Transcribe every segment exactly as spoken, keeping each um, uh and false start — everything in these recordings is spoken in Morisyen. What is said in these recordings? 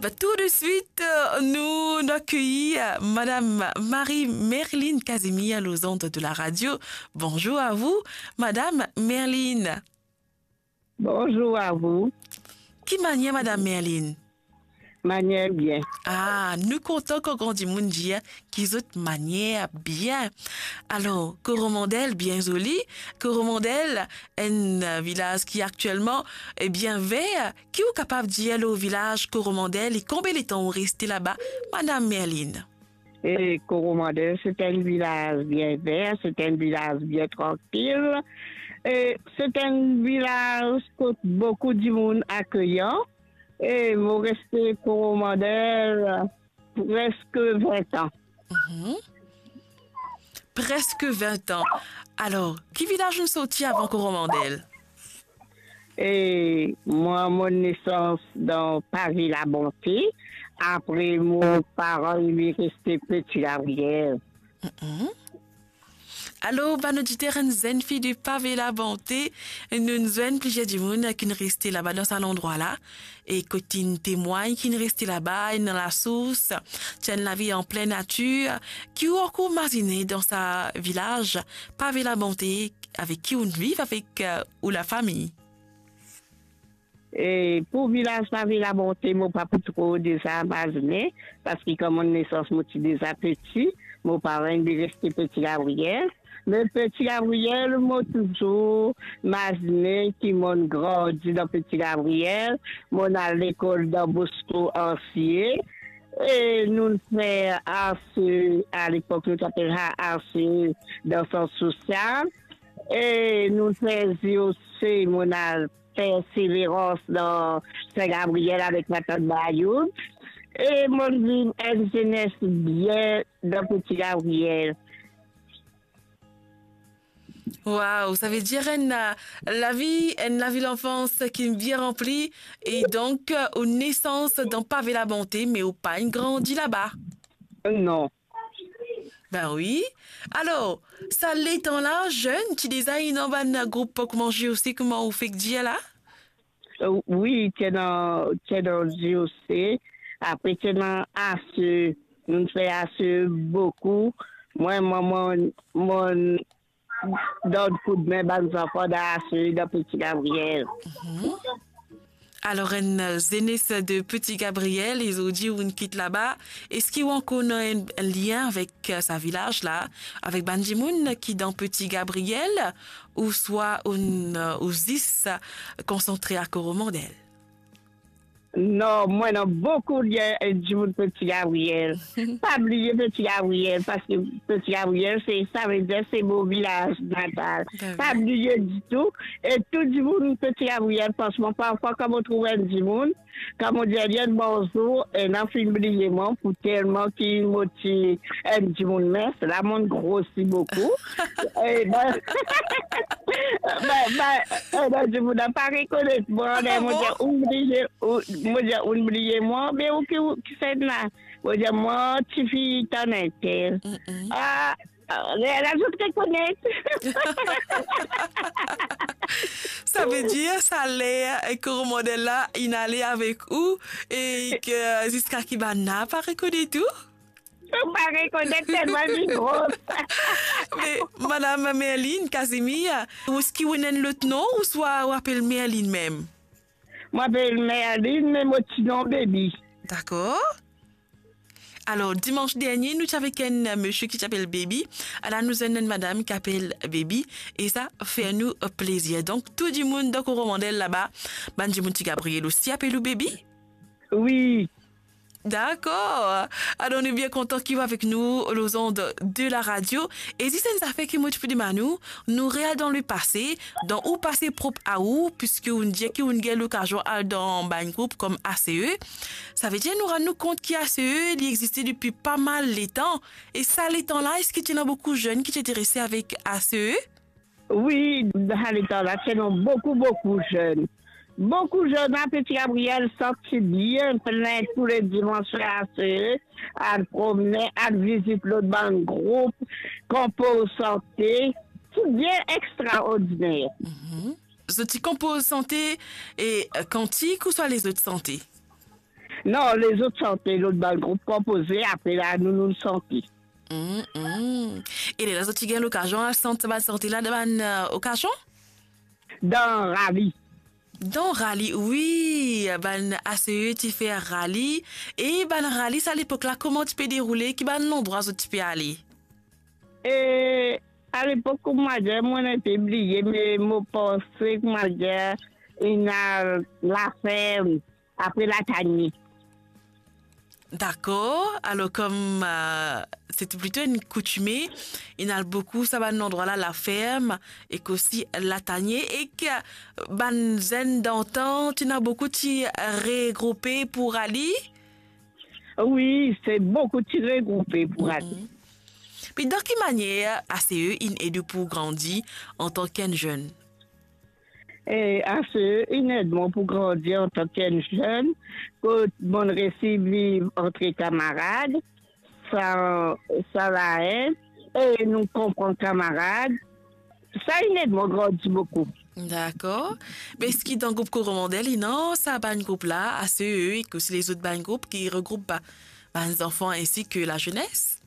Tout de suite, euh, nous accueillons, euh, Madame Marie-Merline Casimir aux ondes de la radio. Bonjour à vous, Madame Merline. Bonjour à vous. Ki manier, Madame Merline? Manier bien. Ah, nou kontan kan gran dimoun dir ki zot manier bien. Alor, Coromandel, bien zoli. Coromandel, enn, euh, vilaz ki aktielman, eh bien, ver. Ki ou kapav dir lor vilaz Coromandel e konbien letan ou reste laba, Madame Merline? E Coromandel, se enn vilaz bien ver, se enn vilaz bien trankil. E se enn vilaz kot boukou dimoun akeyan. E mo reste Coromandel preske vin an. Mhm. Preske vin an. Alor, ki vilaz ou sorti avan Coromandel? E mwa, mo nesans dan Pavé Labonté. Apre, mo paran inn reste Petit Gabriel. Mhm. Alor, bann oditer, enn zenn fi de Pavé Labonté, nou, nou zwenn plizier dimoun ki'nn reste laba dan sa landrwa la, e kot inn temwagn ki'nn reste laba, ena lasours, ti enn lavi an plin natir. Ki ou ankor mazine dan sa vilaz Pavé Labonté, avek ki ou'nn viv avek, euh, ou lafami? E pou vilaz Pavé Labonté, mo pa pou tro deza mazine, parski kan mo nesans, mo ti deza peti, mo paran inn reste Petit Gabriel. Me Petit Gabriel, mo touzour mazine ki mo'nn grandi dan Petit Gabriel, mo'nn al lekol Don Bosco Ansie, e nou'nn fer ACE, alepok nou ti apel sa ACE, dan sant sosial, e nou'nn fer JOC, mo'nn al Perseverans dan Sin Gabriel avek matant Bayoud. E mo'nn viv enn zenes bien dan Petit Gabriel. Waw, savedir enn, euh, lavi, enn lavi lanfans ki bien ranpli, e donk, euh, ou nesans dan Pavé Labonté, me ou pa'nn grandi laba? Non. Ben wi. Alor, sa letan la, zenn, ti deza ena bann group kouma JOC, kouma ou fek dir la? Euh, wi, ti ena, ti ena JOC, apre ti ena ACE, nou fer ACE boukou. Mwa, mwa, mwa, mwa, donn koudme bann zanfan dan ACE dan Petit Gabriel. Mhm. Alor, enn, euh, zenes de Petit Gabriel, e zordi ou'nn kit laba. Eski ou ankor ena enn, enn lien avek, euh, sa vilaz la, avek bann dimoun ki dan Petit Gabriel, ouswa ou'nn, euh, ou zis konsantre a Coromandel? Non, mwa ena boukou lien ek dimoun Petit Gabriel. Pa bliye Petit Gabriel, parski Petit Gabriel, se, savedir se mo vilaz natal. Ben wi. Pa bliye ditou. E tou dimoun Petit Gabriel, fransman, parfwa kan mo trouv enn dimoun, kan mo dir li enn bonzour, ena finn bliye mwa, pou telman ki mo ti enn dimoun mins, la mo'nn grosi boukou. E ben, ben, ben, e ben, dimoun la pa rekonet mwa, ah bon? Mo dir, ou'nn bliye, ou, mo dir, ou'nn bliye mwa, me ou ki, ou ki finn la? Mo dir, mwa, tifi tann entel. Mm-mm. Ah, ah, la, la, zot rekonet. Savedir, sa ler, eh, Coromandel la, inn ale avek ou, e ke ziska ki bann la pa rekonet ou? Ou pa rekonet telman li gro. Me, Madame Merline Casimir, eski ou ena enn lot non, ouswa ou apel Merline mem? Mo apel Merline, me mo ti non Baby. Dakor. Alor, dimans dernie, nou ti avek enn misie ki ti apel Baby. Ala nou ena enn madam ki apel Baby. E sa fer nou plezir. Donk, tou dimoun dan Coromandel laba, bann dimoun Ti Gabriel osi apel ou Baby? Wi. Dakor. Alor, nou bien kontan ki ou avek nou lor zond de la radio. E zis enn zafer ki mo ti pou demann ou, nou real dan lepase, dan ou pase prop a ou, piski ou'nn dir ki ou'nn gagn lokazion al dan bann group kom ACE. Savedir nou rann nou kont ki ACE, li existe depi pa mal letan. E sa letan la, eski ti ena boukou zenn ki ti interese avek ACE? Wi, dan sa letan la, ti ena boukou, boukou zenn. Boukou zenn a Ti Gabriel santi bien plin tou le dimans, ACE, al promne, al vizit lot bann group, konpoz sante, ti bien extraordiner. Mhm. Zot ti konpoz sante e, euh, kantik ouswa lezot sante? Non, lezot sante, lot bann group konpoze, apre la, nou, nou sante. Mm, mm. E lerla zot ti gagn lokazion al sant sa bann sante la dan bann, eh, okazion? Dan rali. Dan rali, wi, bann A C E ti fer rali. E bann rali sa lepok la, kouma ti pe deroule, ki bann landrwa zot ti pe ale? E alepok, kouma dir, mo inn pe bliye, me mo panse, kouma dir, inn al Laferm, apre Latanie. Dakor. Alor, kom, eh, se ti plito enn koutime, inn al boukou sa bann landrwa la, Laferm, ek osi Latanie, ek bann zenn dantan, ti ena boukou ti regroupe pou rali? Wi, se boukou ti regroupe pou rali. Mm. Pe dan ki manier A C E inn ed ou pou grandi antan ki enn zenn? E A C E inn ed mwa pou grandi antan ki enn zenn, kot mo'nn resi viv antre kamarad, sa, sa la, e nou konpran kamarad, sa inn ed mwa grandi boukou. Dakor. Me eski dan group Koromandel, ena sa bann group la, A C E, ek osi lezot bann group ki regroup ba-, bann zanfan ensi ki lazenes?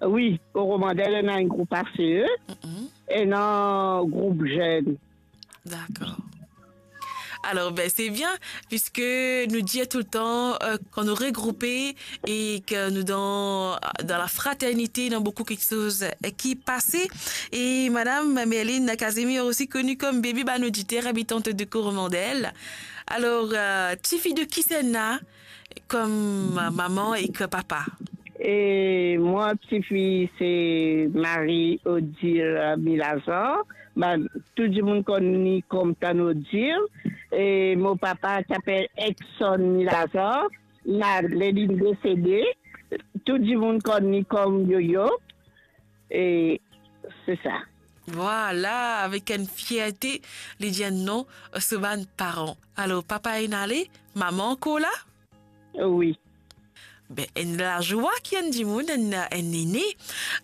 Wi, Koromandel, ena enn group A C E, mm-mm, ena group zenn. Dakor. Alor, be, se bien, piski nou dir toultan, eh, kan nou regroupe e ki nou dan, dan lafraternite, ena boukou kiksoz, eh, ki pase. E Madam Merline Casimir, osi koni kom Baby bann oditer, abitant de Koromandel. Alor, eh, tifi de kisannla kom mama ek papa? E mwa, tifi, se Marie Odile Milazan. Bann, tou dimoun konn li kom Tann Odile. E mo papa ti apel Exon Milazan, malgre li desede, tou dimoun konn li kom Yoyo. E se sa. Vwala, avek enn fierte, li dir enn non so bann paran. Alor, papa inn ale, mama ankor la? Wi. Be, enn lazwa ki enn dimoun, enn, enn nene,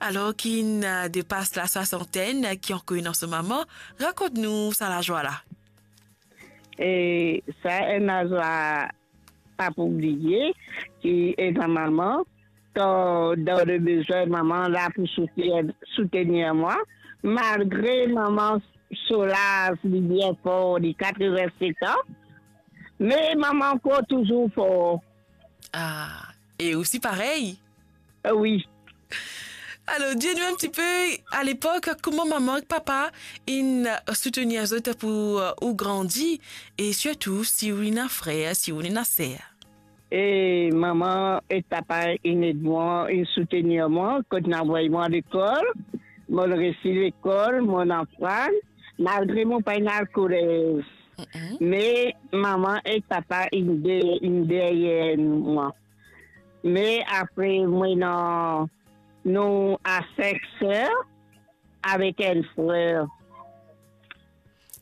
alor ki inn, eh, depas laswasantenn, ki ankor ena so mama, rakont nou sa lazwa la. E sa enn lazwa pa pou bliye, ki ena mama, kan dan le bezwin, mama la pou soutenir, soutenir mwa, malgre mama so laz, li bien for, li katreven-set an, me mama ankor touzour for. Ah, e osi parey? Eh, wi. Alor, dir nou enn tipe, alepok, kouma mama ek papa inn soutenir zot pou, eh, ou grandi, e sirtou si ou ena frer, si ou ena ser. E mama ek papa inn ed mwa, inn soutenir mwa, kot inn avoy mwa lekol, mo'nn resi lekol, mo'nn aprann, malgre mo pa inn al kolez. Mm-mm. Me mama ek papa inn de-, inn deryer mwa. Me apre, mo ena, nou a sink ser avek enn frer.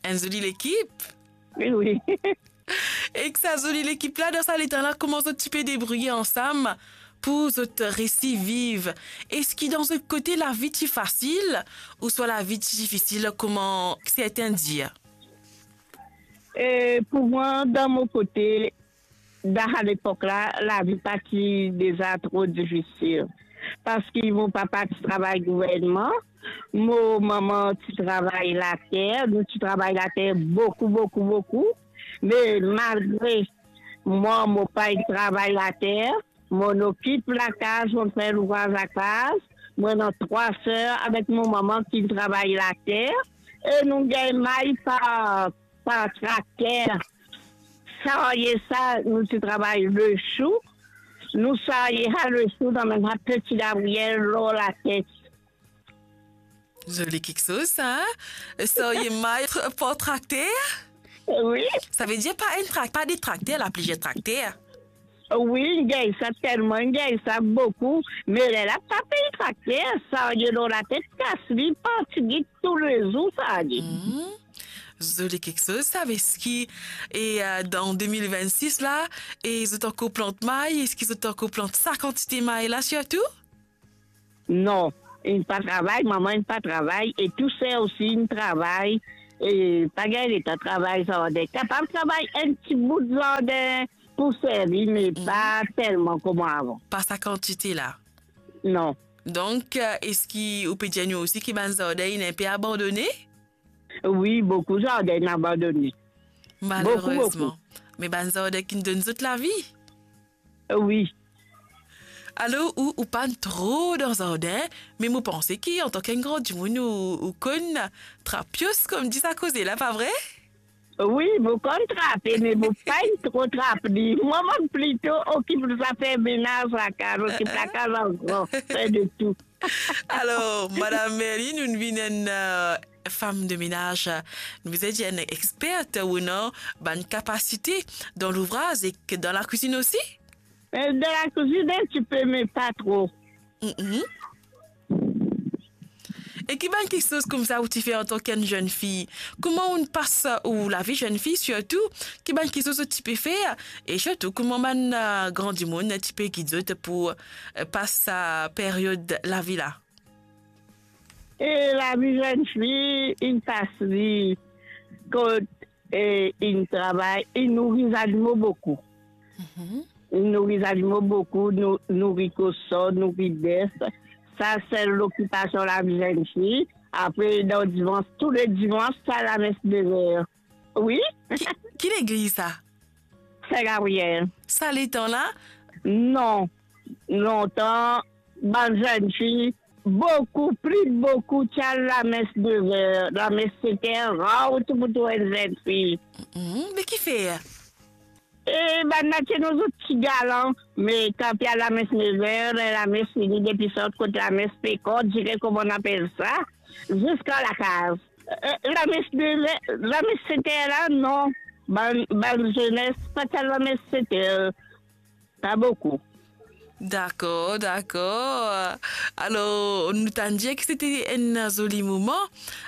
Enn zoli lekip. Wi, wi. Ek sa zoli lekip la, dan sa letan la, kouma zot ti pe debrouye ansam pou zot resi viv? Eski dan zot kote lavi ti fasil, ouswa lavi ti difisil, kouma serten dir? E pou mwa, dan mo kote, dan sa lepok la, lavi pa ti deza tro difisil. Parski mo papa ti travay gouvernman, mo mama ti travay later, nou ti travay later boukou, boukou, boukou. Me malgre mwa, mo pa inn travay later, mo'nn okip lakaz, mo'nn fer louvraz lakaz. Mo ena trwa ser avek mo mama ki travay later, e nou gagn may par, par trakter. Sarye sa, nou ti travay lesou. Nou sarye sa lesou dan bann sa peti labriyel lor latet. Zoli kiksoz sa, hein? Sarye may tr-, par trakter? Wi. Savedir pa enn trak-, pa de trakter la, plizier trakter. Wi, gagn sa telman, gagn sa boukou. Me lerla pa pey trakter, sarye lor latet, kas li, parti git toulezour sarye. Mhm. Zoli kiksoz sa, eski, e, euh, dan de mil vennsis la, e zot ankor plant may, eski zot ankor plant sa kantite may la sirtou? Non, inn pa travay, mama inn pa travay, e tou ser osi inn travay, e pa gagn letan travay zarden. Kapav travay enn ti bout zarden, pou servi, me pa telman kouma avan. Pa sa kantite la? Non. Donk, eh, eski ou pe dir nou osi ki bann zardin inn inpe abandone? Wi, boukou zardin inn abandone. Malerezman. Boukou, boukou. Me bann zardin ki'nn donn zot lavi? Wi. Alor, ou, ou pa'nn tro dan zardin, me mo panse ki antan ki enn gran dimoun ou, ou konn trap pios, kouma dir sa koze la, pa vre? Wi, mo konn trape, me mo pa'nn tro trap li. Mwa, mo plito okip zafer menaz, lakaz, okip lakaz an gran, fer de tou. Alor, Madam Merline, ou'nn vinn enn, eh, fam de menaz, nou bizin dir enn expert, ou ena bann kapasite dan louvraz ek dan lakwizinn osi? Eh, dan lakwizinn, enn tipe, me pa tro. Mhm. E ki bann kiksoz koumsa ou ti fer antan ki enn zenn fi? Kouma ou'nn pas ou lavi zenn fi, sirtou, ki bann kiksoz ou ti pe fer? E sirtou, kouma bann, eh, gran dimoun ti pe gid zot pou, eh, pas sa period lavi la? E lavi zenn fi, inn pas li kot, e, inn travay, inn nouri zanimo boukou. Mhm. Inn nouri zanimo boukou, nou, nouri koson, nouri bef. Sa sel lokipasion lavi zenn fi. Apre, dan dimans, tou le dimans, sa lames de ver. Wi. Ki, ki legliz sa? Sin Gabriel. Sa letan la? Non. Lontan, bann zenn fi, boukou, pli boukou, ti al lames de ver, lames sete, rar tou pou trouv enn zenn fi. Mhm, me kifer? E bann la ti ena zot ti galan, me kan ti al lames de ver, lames fini, depi sort kot lames pe kont, dire kouma nou apel sa, ziska lakaz. Eh, lames de ver, lames sete la, non. Bann, bann zenes pa ti al lames sete, pa boukou. Dakor, dakor. Alor, nou tann dir ki sete enn zoli moman.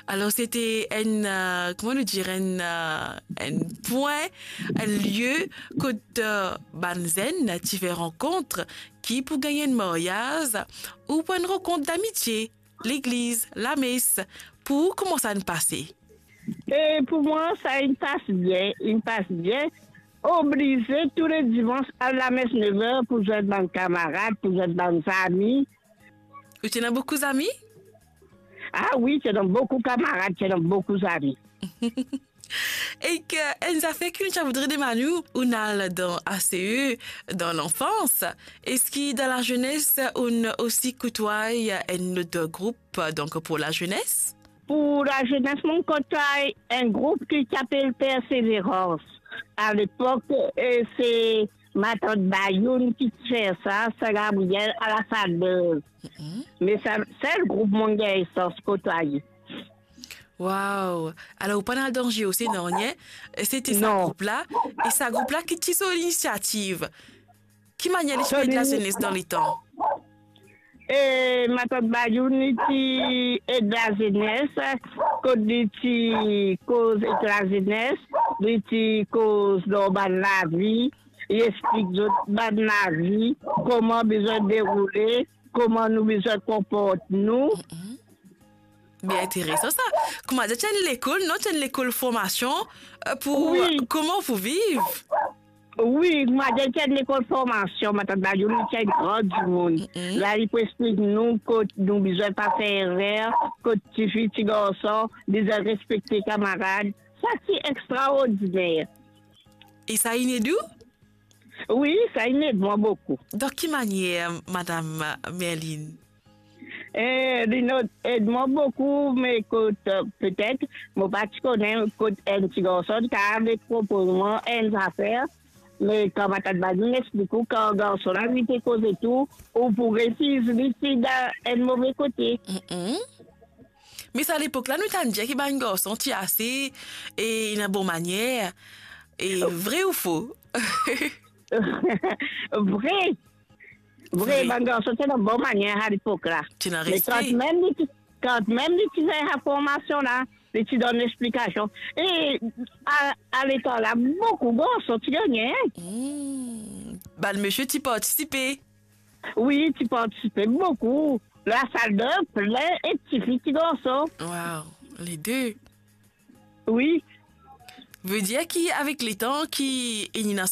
Alor, sete enn, eh, kouma nou dir, enn, eh, enn pwin, enn lie kot, eh, bann zenn ti fer rankont, ki pou gagn enn maryaz, ou pou enn rankont damitie, legliz, lames, pou ou, kouma sa inn pase? E pou mwa, sa inn pas bien, inn pas bien. Oblize tou le dimans al lames nev er pou zwenn bann kamarad, pou zwenn bann zami. Ou ti ena boukou zami? Ah wi, ti ena boukou kamarad, ti ena boukou zami. Ek enn zafer ki nou ti a voudre demann ou, ou'nn al dan A C E dan lanfans, eski dan lazenes ou'nn osi koutway enn lot group, donk pou lazenes? Pou lazenes, mo koutway enn group ki ti apel Perseverance. A lepok, e, se matant Bayoun ki ti fer sa, Sin Gabriel, a la Salbreuse. Mhm. Me sa, sel group mo gagn sans koutwaye. Waw! Alor, ou pa'nn al dan J O C, non, nie? Sete sa group la, e sa group la ki ti so linisiativ. Ki manier li ti pe ed lazenes dan letan? E matant Bayoun, li ti ed lazenes, kot li ti koz ek lazenes, li ti koz lor bann lavi, li explik zot bann lavi, kouma bizin deroule, kouma nou bizin konport nou. Mhm. Bien interesan sa. Koumadir ti enn lekol, non, ti enn lekol formasion, eh, pou, wi, kouma pou viv. Wi, koumadir ti enn lekol formasion, matant Bayoun, li ti enn gran dimoun. Mm-mm. La, li pou explik nou kot nou bizin pa fer erer, kot tifi, tigarson, bizin respekte kamarad. Sa ti extraordiner. E sa inn ed ou? Wi, sa inn ed mwa boukou. Dan ki manier, Madam Merline? Eh, li inn ed mwa boukou, me kot, eh, petet, mo pa ti kone kot enn tigarson ti kapav propoz mwa enn zafer, me kan matant Bayoun explik ou, kan garson la, li pe koze tou, ou pou refiz li si dan enn move kote. Mm-mm. Me sa lepok la, nou tann dir ki bann garson ti ase, e, ena bon manier. E vre ou fo? Vre. Vre, vre. Bann garson ti ena bon manier a lepok la. Ti ena respe. Me kanmem li ti, kanmem li ti fer sa formasion la, li ti donn explikasion. E a, a letan la, boukou garson ti gagne, hein. Hmm. Bann misie ti partisipe. Wi, ti partisipe boukou. Lasal dan plin ek tifi, tigarson. Waw, le de. Wi. Vedir ki avek letan ki ena